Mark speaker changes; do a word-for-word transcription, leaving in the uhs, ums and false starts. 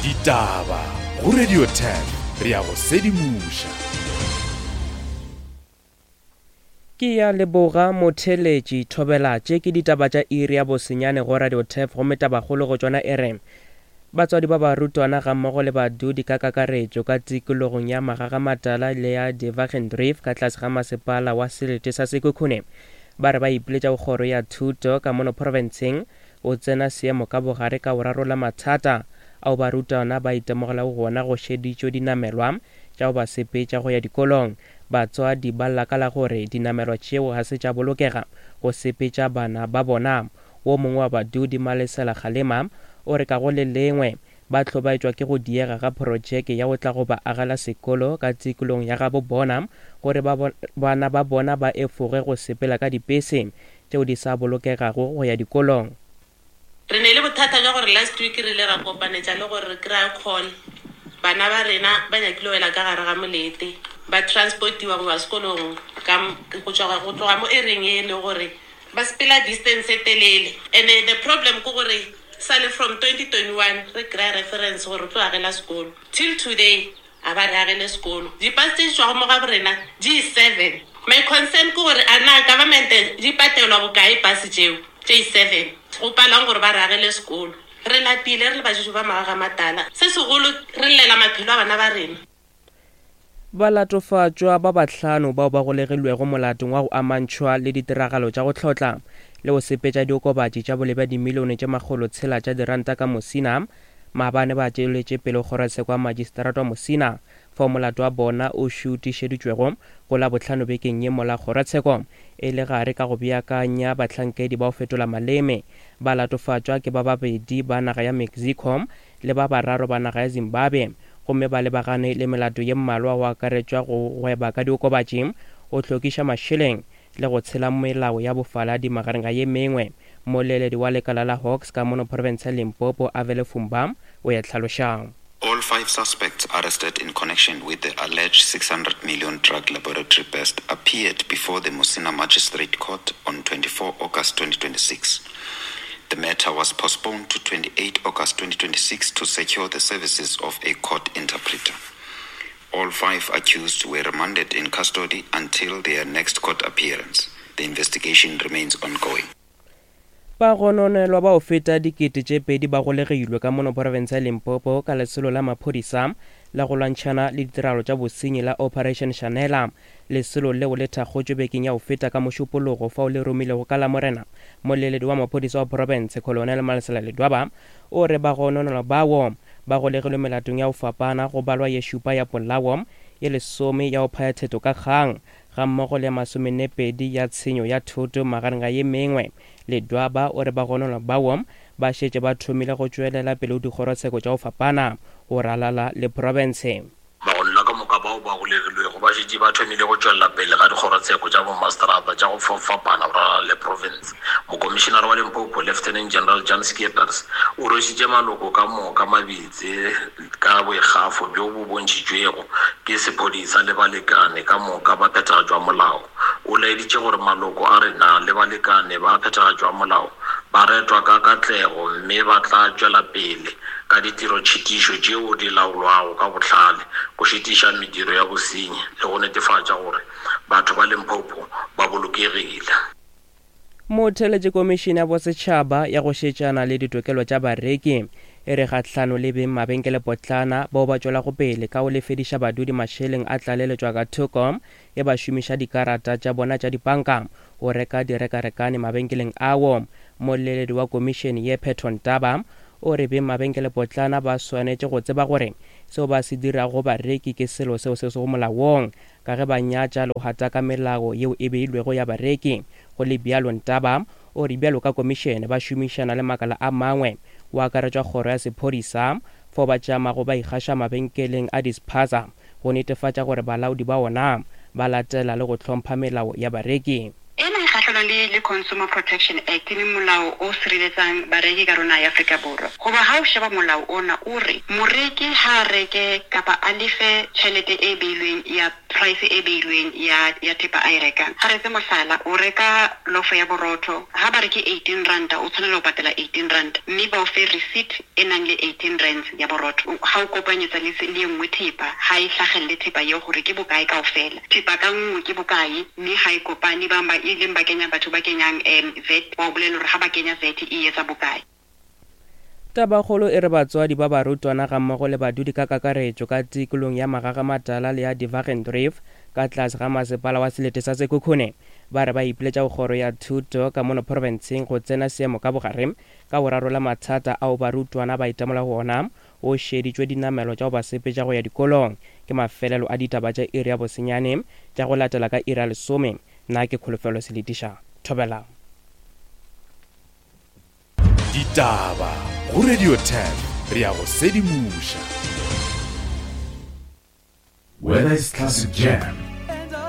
Speaker 1: Ditaba go Radio ten re ya go sedimoša.
Speaker 2: Ke ya leboga motheletši thobela tše ke ditaba tša iri ya bosenyane go Radio Turf gomme tabakgolo go tšona e re batswadi ba barutwana gammogo le badudi ka kakaretšo ka tikologong ya Magagamatala le ya Devagendrief ka tlase ga masepala wa selete sa Sekhukhune ba re ba ipiletša go kgoro ya thuto ka mono profenseng o tsena seemo ka bogare ka go rarolla mathata ao barutwana ba itemogelago gona go šeditšwe dinamelwa tša go ba sepetša go ya dikolong. Batswadi ba lla ka la gore dinamelwa tšeo ga se tša bolokega go sepetša bana ba bona. Wo mongwe wa badudi Malesela Kgalema o re ka go le lengwe ba hlobaetšwa ke go diega ga projeke ya go tla go ba agela sekolo ka tikolong ya gabo bona gore ba bana ba bona ba efoge go sepela ka dipese tšeo di sa bolokegago go ya dikolong.
Speaker 3: Re ne le bothata jwa gore last week re ile ra kopanetša le gore re kry-a call bana ba rena ba nyakile wela ka gare ga molete ba transportiwa go ba sekolong ka go tšwa go tloga mo ereng e le gore ba sepela distance e telele. And the problem ke gore sale from twenty twenty-one re kry-a reference gore re tlo agela sekolo till today a ba re agele sekolo. Dipase tse di tšwago mo ga borena di seven. My concern ke gore a na government di patelwa bokae pase tšeo tše seven go palang gore ba re agele sekolo. Re lapile re le bajuju ba Magagamatala, se segolo re llela maphelo a bana ba rena.
Speaker 2: Balatofatšwa ba bahlano bao ba golegilwego molatong wa go amantšhwa le ditiragalo tša go hlotla le go sepetša diokobatši tša boleng bja dimilione tše makgolo tshela tša diranta ka Musina maabane ba tšweletše pele kgorotsheko ya magistrata wa Musina fao molato wa bona o šutišeditšwego go la bohlano bekeng ye mola kgorotsheko e le gare ka go beakanya bahlankedi ba go fetola maleme. Balatofatšwa ke ba babedi ba naga ya Mexico le ba bararo ba naga ya Zimbabwe gomme ba lebagane le melato ye mmalwa go akaretšwa go gweba ka diokobatši, go hlokiša mašeleng le go tshela melao ya bofaladi magareng ga ye mengwe. Moleledi wa lekala la Hawks ka mono province ya Limpopo Avele Fumba o ya hlalošang.
Speaker 4: All five suspects arrested in connection with the alleged six hundred million drug laboratory burst appeared before the Musina Magistrate Court on twenty-four August twenty twenty-six. The matter was postponed to twenty-eight August twenty twenty-six to secure the services of a court interpreter. All five accused were remanded in custody until their next court appearance. The investigation remains ongoing.
Speaker 2: Bagononelwa bao feta dikete tše pedi ba golegilwe ka mono province ya Limpopo ka lesolo la maphodisa la go lwantšhana le ditiragalo tša bosenyi la Operation Shanela. Lesolo leo le thakgotšwe bekeng ya go feta ka mošupologo fao le romilego ka Lamorena. Moleledi wa maphodisa wa province Colonel Malesela Ledwaba o re bagononelwa bao ba golegilwe melatong ya go fapana go balwa ye šupa ya polao, ye lesome ya go phaya theto ka kgang gammogo le ya masomennepedi ya tshenyo ya thoto magareng ga ye mengwe. Ledwaba o re bagononelwa bao ba šetše ba thomile go tšwelela pele go dikgorotsheko tša go fapana go ralala le province.
Speaker 5: Bagononelwa ka moka bao ba golegilwego ba šetše ba thomile go tšwelela pele ga dikgorotsheko tša bomaseterata tša go fapana go ralala le province. Mokomišenare wa Limpopo Lieutenant General Jan Skeepers o rwešitše maloko ka moka mabitse ka boikgafo bjo bo bontšhitšwego ke sephodisa le balekane ka moka ba phethagatšo ya molao. O laeditše gore maloko a rena le balekane ba phethagatšo ya molao ba retwa ka katlego mme ba tla tšwela pele ka ditirotšhitišo tšeo di laolwago ka bohlale go šitiša mediro ya bosenyi le go netefatša gore batho ba Limpopo ba bolokegile.
Speaker 2: Motheletše komišene ya bosetšhaba ya go šetšana le ditokelo tša bareki e re kgahlano le beng mabenkelepotlana bao ba tšwelago pele ka go lefediša badudi mašeleng a tlaleletšwa ka thoko e ba šomiša dikarata tša bona tša dipanka go reka direkarekane mabenkeleng ao. Moleledi wa komišene ye Phetho Ntaba o re beng mabenkelepotlana ba swanetše go tseba gore seo ba se dirago bareki ke selo seo se sego molaong ka ge ba nyatša le go gataka melao yeo e beilwego ya bareki. Go le bjalo Ntaba o re bjalo ka komišene ba šomišana le makala a mangwe go akaretšwa kgoro ya sephodisa fao ba tšamago ba ikgaša mabenkeleng a dispaza go netefatša gore balaodi ba ona ba latela le go hlompha melao ya bareki.
Speaker 6: Ena e kgahlano dumellana le le Consumer Protection Act, e leng molao o sireletsang bareki ka rona ya Afrika Borwa. Hoba ha o sheba molao ona, o re moreki ha a reke kapa a lefe tjhelete e beilweng ya price e beilweng ya ya thepa a e rekang. Ha re etse mohlala, o reka lofo ya borotho, ha ba re ke eighteen ranta, o tshwanela ho patala eighteen ranta, mme ba o fe receipt e nang le eighteen rands ya borotho. Ha o kopanyetsa le le e nngwe thepa, ha e hlahelle thepa eo hore ke bokae kaofela. Thepa ka nngwe ke bokae, mme ha e kopane, bang ba e leng ba kenya batho ba kenyang um V A T, ba o bolella hore ha ba kenya V A T e etsa bokae.
Speaker 2: Tabakgolo e re batswadi ba barutwana gammogo le badudi ka kakaretšo ka tikolong ya Magagamatala le ya Divergent ka tlase ga masepala wa selete sa Sekhukhune ba re ba ipiletša go kgoro ya thuto ka mono profenseng go tsena seemo ka bogare ka go rarolla mathata ao barutwana ba itemola go ona o šeditšwe dinamelo tša go ba sepetša go ya dikolong. Ke mafelelo a ditaba tša iri ya bosenyane tša go latela ka iri ya lesome. Nna ke Kholofelo Seletiša. Thobela.
Speaker 1: Ditaba go Radio ten, re ya go sedimoša.
Speaker 7: Whether it's classic jam